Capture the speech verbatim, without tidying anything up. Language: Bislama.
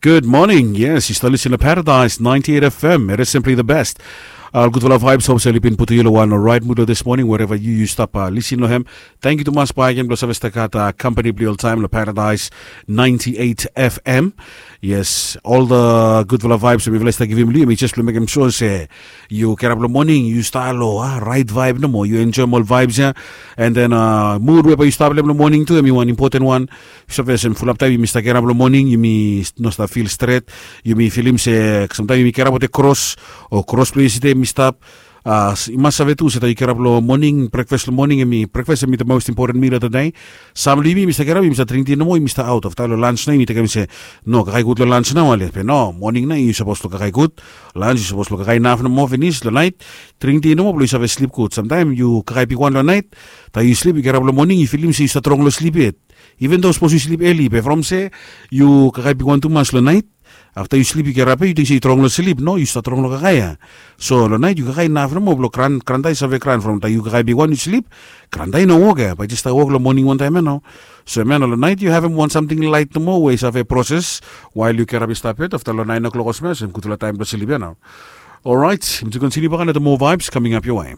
Good morning. Yes, yu stap lisin long Paradise ninety-eight F M. It is simply the best. Ol gudfala vibes, hope se oli bin putum yu long wan orait mud long this morning, wherever yu yu stap lisin long hem. Thank you tumas bae gen blong save stap gat company blong ol taem long Paradise ninety-eight F M. Yes, ol the gudfala vibes we mifala i stap givim long yu, mi jes blong mekem sure se yu kirap long moning yu stap long rait vibe nomo, yu enjoem ol vibes ya. And then mud we bae yu stap long moning tu, em i wan impoten wan. Yu save olsem fulap taem yumi stap kirap long moning yumi no stap fil stret. Yumi filim se samtaem yumi kirap wetem kros, o kros blong yestede yumi stap. I mas save tu se taem yu kirap long moning, brekfas long moning, em i brekfas em i the most important meal of the day. Sam long yumi yumi stap kirap, yumi stap dring ti nomo, yumi stap aot. Afta long lans nao yumi tekem se, no, kakae gud long lans nao ale. Be no, moning nao yu sapos long kakae gud. Lans yu sapos long kakae inaf nomo finis. Long naet, dring ti nomo blong yu save slip gud. Samtaem yu kakae bigwan long naet, taem yu slip yu kirap long moning yu filim se yu stap strong long slip yet. Even though sapos yu slip eli, be from se yu kakae bigwan tumas long naet, afta yu slip yu kirap ya yu ting se yu strong long slip. No, yu stap strong long kakae ya. So long naet yu kakae inaf nomo blong gran, granta i save gran from taem yu kakae bigwan yu slip. Granta i no wok ya, bae i jes stap wok long moning wantaem ya nao. So em ya nao long naet yu havem wan samting laet nomo we i save proses wael yu kirap i stap yet. Afta long naen o'clock olsem ya, olsem gudfala taem blong slip ya nao. Orait, mi tu kontiniu bak long the more vibes coming up your way.